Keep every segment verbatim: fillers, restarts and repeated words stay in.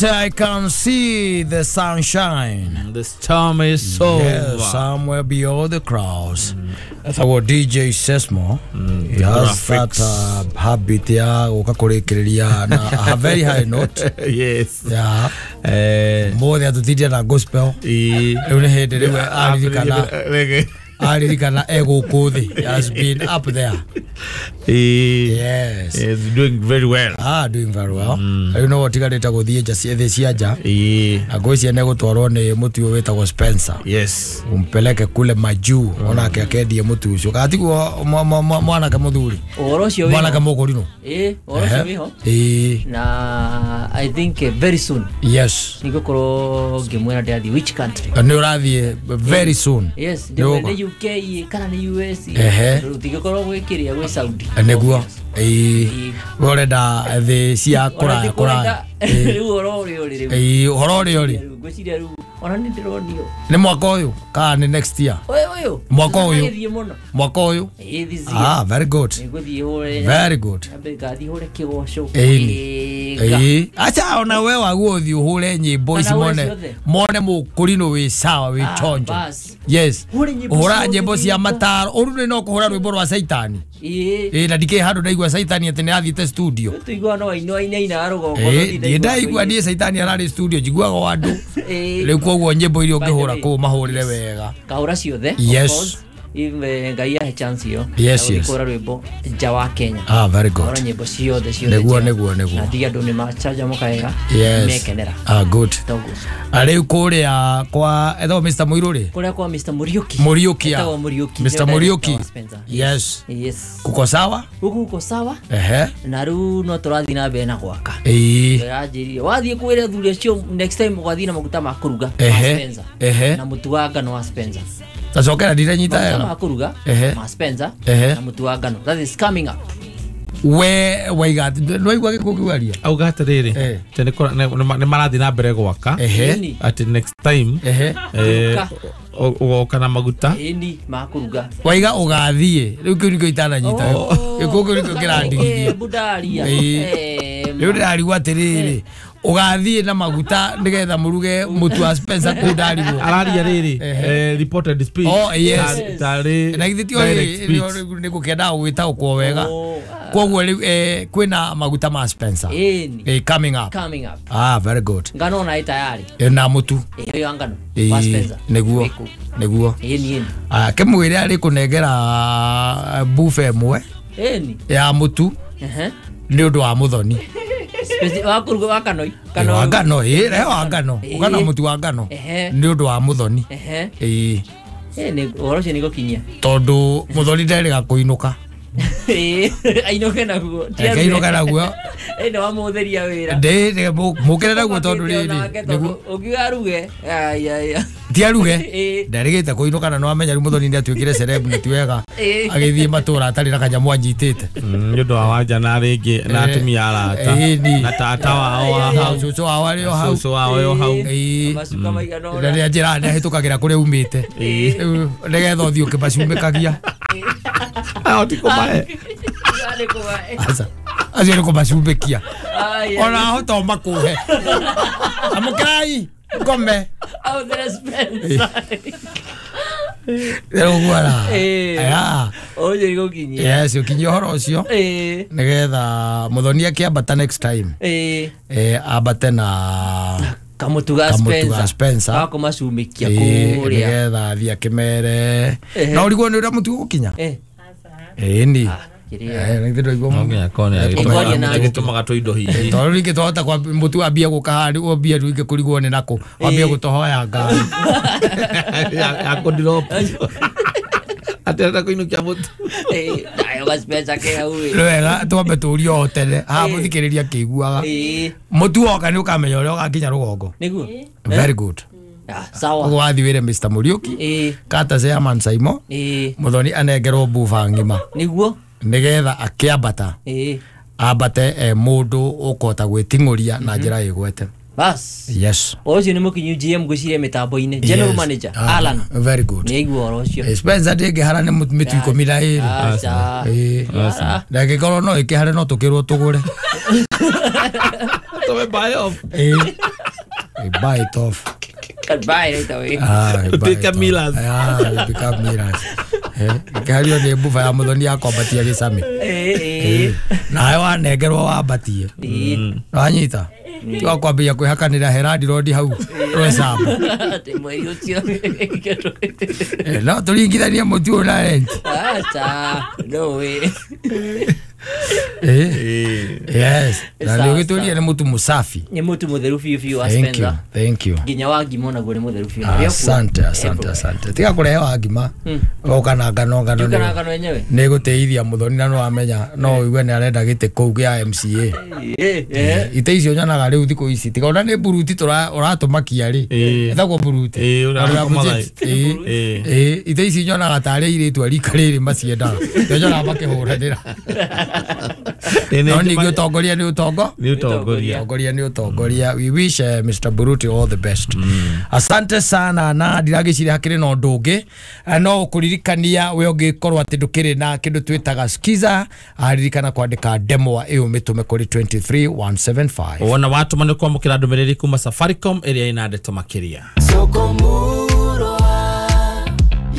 I can see the sunshine. The storm is over. Yeah, somewhere beyond the clouds. Mm. That's our D J Sesmo. Mm, he has that uh, habit ya ukakurekereria na a very high note. Yes. Yeah. Eh, more than D J na gospel. Eh, aririkana ego He has been up there. He, yes. He's doing very well. Ah, doing very well. Mm. You know what tigareta guthie nja ciethe cia nja. Eh. Na ngwiciria nĩ gũtwarwo nĩ mũtu ũyũ wĩtagwo Spencer. Yes. Umpeleke kule majuu mm. Onake akendie mũtu ũcio. Kana tiguo mwanake mũthuri. Ũhoro ũcio wĩho. Mwanake mũkũrinũ. Eh, ũhoro ũcio wĩho. Eh. Na I think uh, very soon. Yes. Nĩngũkorwo ngĩmwĩra ndĩrathiĩ which country. Nĩ ũrathiĩ very soon. Yes, ndĩmwĩre U K kana nĩ U S. Ehe. Rũtigĩkorwo gwĩkĩrĩa gwĩ Saudi. Nĩguo. Ĩĩ. We ũrenda thĩ cia kũraya kũraya. Rĩu ũhoro ũrĩa ũrĩ rĩu. Ĩĩ, ũhoro ũrĩa ũrĩ. Ngwĩciria rĩu ona nĩ ndĩronio. Nĩ mwaka ũyũ kana nĩ next year? Ũyũ ũyũ. Mwaka ũyũ. Gĩthiĩ mũno. Mwaka ũyũ. Ĩĩ, this year. Ah, very good. Nĩngũthiĩ hũre. Very good. Nyambe ngathiĩ hũre kĩgoco. Ĩĩ. Ĩĩ. Acha ona we waguo ũthiĩ ũhũre nyĩmbo ici mone. Mone mũkũrinũ wĩ sawa wĩ chonjo. Yes. Ũhũra nyĩmbo cia mataro. Ũru nĩ no kũhũra rwĩmbo rwa Saitani. Ĩĩ. Ĩĩ, na ndikĩ handũ ndaigua Saitani atĩ nĩ athiĩte studio. Tũigua no aino ainaina rũgongo. Ĩĩ, ndaigua niĩ Saitani ararĩ studio njiguaga o andũ. Rĩu koguo nyĩmbo iria ũngĩhũra kũu mahũrĩre wega. Kahũra ciothe. Yes. Ive ngai ahe chance iyo. Yes, yes. Kũhũra rwĩmbo nja wa Kenya. Ah, very good. Kahũra nyĩmbo ciothe ciothe. Nĩguo nĩguo nĩguo. Na ndige andũ nĩ macanjamũka wega. Yes. Mekenera. Ah, good. Toguo. Rĩu kũrĩa kwa etagwo Mister Mũirũ rĩ? Kũrĩa kwa Mister Muriuki. Muriuki. Etagwo Muriuki. Mister Muriuki. Yes. Yes. Kuko sawa? Huku kuko sawa. Ehe. Na rĩu no tũrathiĩ na mbere na gwaka. Ĩĩ. Ndĩranjĩrire wathiĩ kwĩra athuri acio next time ũgathiĩ na maguta ma kũruga ma Spencer. Ehe. Na mũtu wa ngano wa Spencer. Tacokera ndiranyita wega. Maguta ma kũruga ma Spencer na mũtu wa ngano. That is coming up. We waiga nwaigua gĩkũ kĩwaria auga atĩrĩrĩ atĩ nĩ marathiĩ na mbere gwaka atĩ next time ũgoka na maguta ĩni ma kũruga waiga ũgathiĩ rĩu kĩu nĩkĩo itananyita gĩkũ kĩu nĩkĩo kĩrandigithia bundaria rĩu ndĩrarigwo atĩrĩrĩ ũgathiĩ na maguta nĩgetha mũruge mũtu wa Spencer kũu ndarigwo araria rĩrĩ reported speech. Oh yes, tarĩ na githĩ ti nĩ gũkĩendaga gwĩtaũkwo wega koguo rĩu kwĩna maguta ma Spencer ĩni coming up. Coming up. Ah, very good. Ngano ona ĩ tayari na mũtu ĩyo ya ngano wa Spencer nĩguo nĩguo ĩni ĩni ah kĩmwĩre arĩ kũnengera buffet ĩmwe ĩni ya mũtu nĩ ũndũ wa mũthoni wa kũruga wa ngano kana wa ngano ĩ rehe wa ngano ũkana mũtu wa ngano nĩ ũndũ wa mũthoni ĩĩ ĩ nĩ ũhoro ũcio nĩ gũkinyia tondũ mũthoni nderĩga kũinũka ĩĩ ainũke naguo ainũke naguo ĩ nĩ wamũhũthĩria wĩra ndĩ mũkĩre naguo tondũ rĩrĩ nĩguo ũngiuga aruge aya ti aruge nderĩgĩte kũinũka na nĩwamenya rĩu mũthoni nĩ atuĩkire celeb na ti wega agĩthiĩ matũra atarĩ na kanyamũ anyitĩte nĩ ũndũ wa wanja na rĩngĩ na atumia arata na tata wao wa hau cũcũ wao arĩ o hau cũcũ wao o hau macuka maigana ũna na nĩ anjĩraga nĩ ahĩtũkagĩra kũrĩa umĩte rĩu nĩgetha ũthiĩ ũkĩmacumĩkagia ahoti kũmahe aca acio nĩ kũmacumbĩkia ona ahota o makũhe amũkĩrai ngome ahũthĩre Spencer rĩu ra aya ũyũ gũkinyia yes ũkinyia ũhoro ũcio nĩgetha mũthoni akĩambata next time eh ambate na kamũtu ga Spencer ga kũmacumĩkia kũrĩa nĩgetha athiĩ akĩmere na ũrigwo nĩ ũrĩa mũtu ũgũkinya ĩni gĩtũmaga tũindo hihi tondũ rĩngĩ twahota mũtu ambie gũka haha wambie rĩngĩ kũrigwo nĩ nakũ wambie gũtũhoya ngari ya kũndirop atĩ arenda kũinũkia mũtu nayo ga Spencer ke hau ĩ wega twambe tũrie o tene haha mũthikĩrĩria akĩiguaga mũtu woka nĩ ũkamenya ũrĩa ũgakinya rũgongo nĩguo very good. Sawa ũguo wathiĩ wĩre Mister Muriuki kata Chairman Saimo mũthoni anengerwo buba ng'ima nĩguo nĩgetha akĩambata ambate e mũndũ ũkũhota gwĩting'ũria na njĩra ĩgwete. Bas. Yes. Ũcio nĩ mũkinyu G M ngwĩciria mĩtambo-inĩ. General Yes. manager Ah, Alan. Very good. Nĩ aigua ũhoro ũcio. Spencer ndĩngĩhara nĩ mĩtu ikũmi na ĩrĩ. Aca. Ĩĩ. Na ĩngĩkorwo no ĩkĩhare no tũkĩrwo tũgũre. Tũme buy off. Ĩĩ. We buy it off. Can buy right away. Ah, we buy it Tuĩke off. millers. Ah, we become millers. Eh, ĩkĩhario nĩ mbuba ya mũthoni ya kwambatia gĩcamĩ. Ĩĩ, ĩĩ. Nawe wanengerwo wambatie. Ĩĩ. Wanyita? Tiga kwambia kwĩhakanĩra Heradi Road hau Rwecamba. Atĩ mweri ũcio. Eh, no tũringithanie mũtu ũyũ na rent. Aca. No way. Eh. Yes. Na Sawa, nĩ ũgĩtũrie nĩ mũtu mũsafi. Nĩ mũtu mũtheru biũ biũ wa Thank you. Spencer. Thank you. Nginya wa ngima onaguo nĩ mũtheru biũ. Asante, asante, asante. Tiga kũrehe wa ngima. Ũka na ngano ngano. Njuka na ngano yenyewe. Nĩ gũteithia mũthoni na no amenya no ũigue nĩ arenda gĩtĩ kũu gĩa M C A. Ĩĩ, ĩĩ. Ite icio nyonaga rĩu thikũ ici tiga ona nĩ buruti tũra ũratũmakia rĩ. Ĩĩ. Ĩtagwo buruti. Ĩĩ, Ona ũratũma budget. thaa. Ĩĩ. Ĩĩ. Ĩĩ, ite ici nyonaga tarĩ airĩtu a rika rĩrĩ maciendaga. Nĩo nyonaga makĩhũranĩra. No ningĩ ũtongoria nĩ ũtongo. Nĩ ũtongoria. Ũtongoria nĩ ũtongoria. We wish uh, Mister Buruti all the best. Asante sana na ndiragĩciria hakĩrĩ na ũndũ ũngĩ. Eh, no kũririkania we ũngĩkorwo atĩ ndũkĩrĩ na kĩndũ twĩtaga skiza, ririkana kwandĩka demo ĩyo mĩtũme kũrĩ two three one seven five. Wona watũma nĩ kwamũkĩra ndũmĩrĩri kuma Safaricom ĩrĩa ĩna ndeto makĩria. Soko murwa,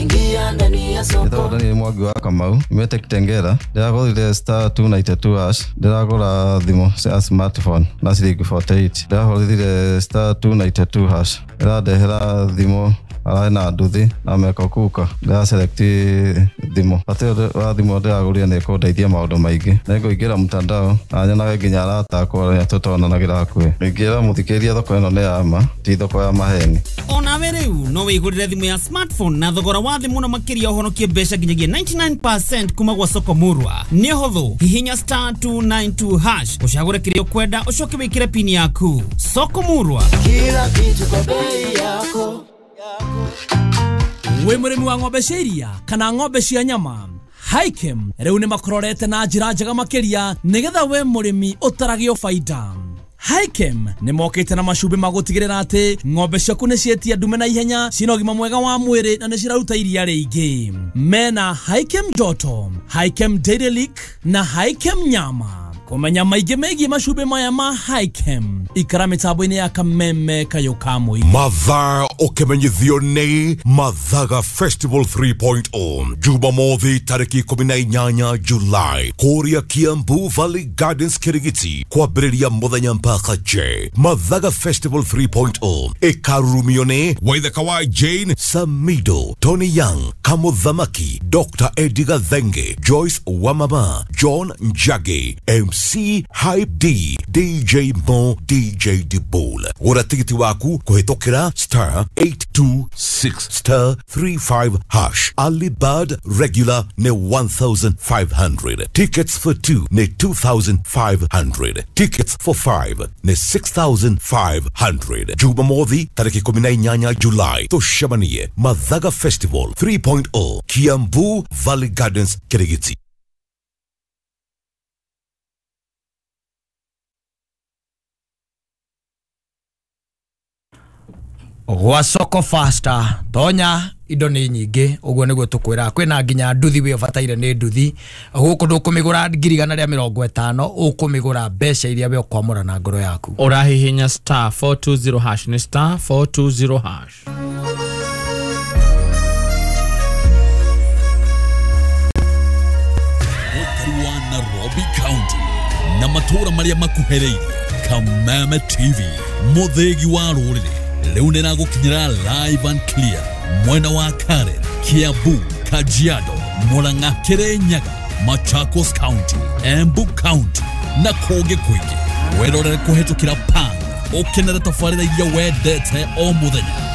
ingia ndani ya soko. Nĩtagwo Daniel Mwangi wa Kamau, nyumĩte Kitengela. Ndĩragũrire star two ninety two hash, ndĩragũra thimũ cia smartphone na ciringi forty eight. Ndĩrahũrire star two ninety two hash, ĩrandehera thimũ ararĩ na nduthi na meko kuka. Ndĩra select thimũ. Bata ũyũ wa thimũ ndĩragũrire nĩ ĩkũndeithia maũndũ maingĩ. Nĩngũingĩra mtandao na nyonage nginya arata akwa arĩa tũtonanagĩra hakuhĩ. Ingĩra mũthikĩrĩria thoko ĩno nĩ ya ma, ti thoko ya maheni. Onawe rĩu no wĩgũrĩre thimũ ya smartphone na thogora wa thĩ mũno makĩria ũhonokie mbeca nginyagia ninety nine percent kuma gwa Soko Murwa. Nĩ hũthũ, hihinya star two nine two hash ũcagũre kĩrĩa ũkwenda ũcoke wĩkĩre pini yaku. Soko Murwa, kila kitu kwa bei yako. Wĩ mũrĩmi wa ng'ombe cia iria kana ng'ombe cia nyama, Hikem rĩu nĩ makũrorete na njĩra njega makĩria nĩgetha we mũrĩmi ũtaragio baida. Hikem nĩ mokĩte na macumbĩ ma gũtigĩrĩra atĩ ng'ombe ciaku nĩ ciĩtia ndume na ihenya, ciĩna ũgima mwega wa mwĩrĩ na nĩ ciraruta iria rĩingĩ. Mena Hikem Joto, Hikem Dairy Lick na Hikem Nyama. Kũmenya maingĩ megiĩ macumbĩ maya ma Hikem, ikara mĩtambo-inĩ ya Kameme Kayũ ka Mũingĩ. Mathaa ũkĩmenyithio nĩ Mathaga Festival three point oh Jumamothi tarĩki ikũmi na inyanya July kũrĩa Kiambu Valley Gardens Kirigiti kwambĩrĩria mũthenya mpaka J. Mathaga Festival three point oh ĩkarurumio nĩ Waithaka wa Jane Samido, Tony Young, Kamuthamaki, Doctor Eddie Gathenge, Joyce Wamama, John Njagi, M C Hype D, D J Mo, D J Dibol. Gũra tigiti waku kũhĩtũkĩra star eight two six star three five hash. Early bird regular nĩ one thousand five hundred. Tickets for two nĩ two thousand five hundred. Tickets for five nĩ six thousand five hundred. Jumamothi tarĩki ikũmi na inyanya July tũcemanie Mathaga Festival three point oh Kiambu Valley Gardens Kirigiti. Gwa Soko Faster tonya indo nĩ nyingĩ ũguo nĩguo tũkwĩra kwĩna nginya nduthi wĩ ũbataire nĩ nduthi gũkũ ndũkũmĩgũra ngiri igana rĩa mĩrongo ĩtano ũkũmĩgũra mbeca iria we ũkwamũra na ngoro yaku. Ũrahihinya star four two zero hash nĩ star four two zero hash. Mũkari wa Nairobi County na matũũra marĩa makuhĩrĩirie, Kameme T V mũthĩgi wa rũrĩrĩ rĩu nĩragũkinyĩra live and clear mwena wa Karen, Kiambu, Kajiado, Murang'a, Kirinyaga, Machakos County, Embu County na kũngĩ kũingĩ. Wĩrorere kũhĩtũkĩra Pan ũkenere tabarĩra iria wendete o mũthenya.